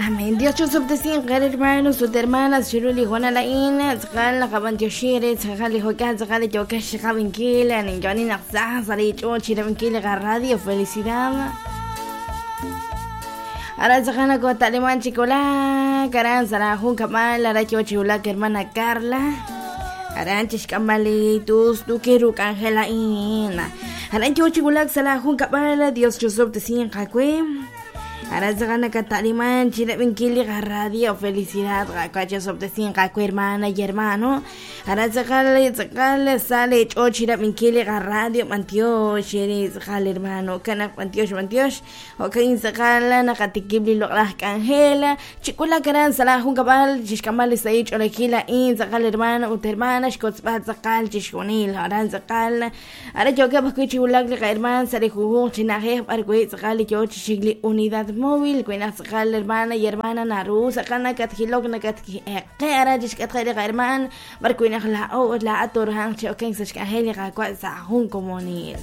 Amén. Dios chusobtesinq hermanos ut hermanas chiru li hoonal a'in tz'aqal naqab'antioxi re tz'aqal li jo'kan tz'aqal li yookex chiqab'inkil ninyo'oni naq sa sa' li ch'ool chirab'inkil li qaradio Felicidad. Aran tz'aqal nakota'liman chi wulak aran sa' la junkab'al aran yoo chi wulak hermana Carla aran chixk'amb'al li tustukil ru k'anjel a'in aran yoo chi wulak sa' la junkab'al Dios chusob'tesinq aawe. Aran tz'aqal nakata'liman chirab'inkil li qaradio Felicidad Qaawa' chasob'tesinq aawe hermana y hermano Aran tz'aqal tz'aqal sa li ch'och chirab'inkil li qaradio b'antiox eri tz'aqal hermano kanaq b'antiox b'antiox jo'kan tz'aqal naqatikib' li loq'laj k'anjel chik'ulak aran sa' laa junkab'al chixk'amb'al li sahil ch'oolejil a'in tz'aqal hermano ut hermana xkotzb'al tz'aqal chixjunil aran tz'aqal Aran yookeb' ajwi' chi wulak li qahermaan sa' li junjunq chi na'ajej b'ar wi' tz'aqal li yoo chi xik li unidad móvil. Wi naq tz'aqal hermana y hermana naru tz'aqal nakatjilok nakatqe aran chixk'atqeb' li qahermaan b'ar wi' naq laa'o ut laa'at tooruhanq chi okenk sa' xk'anjel li Qaawa' sa' jun komonil.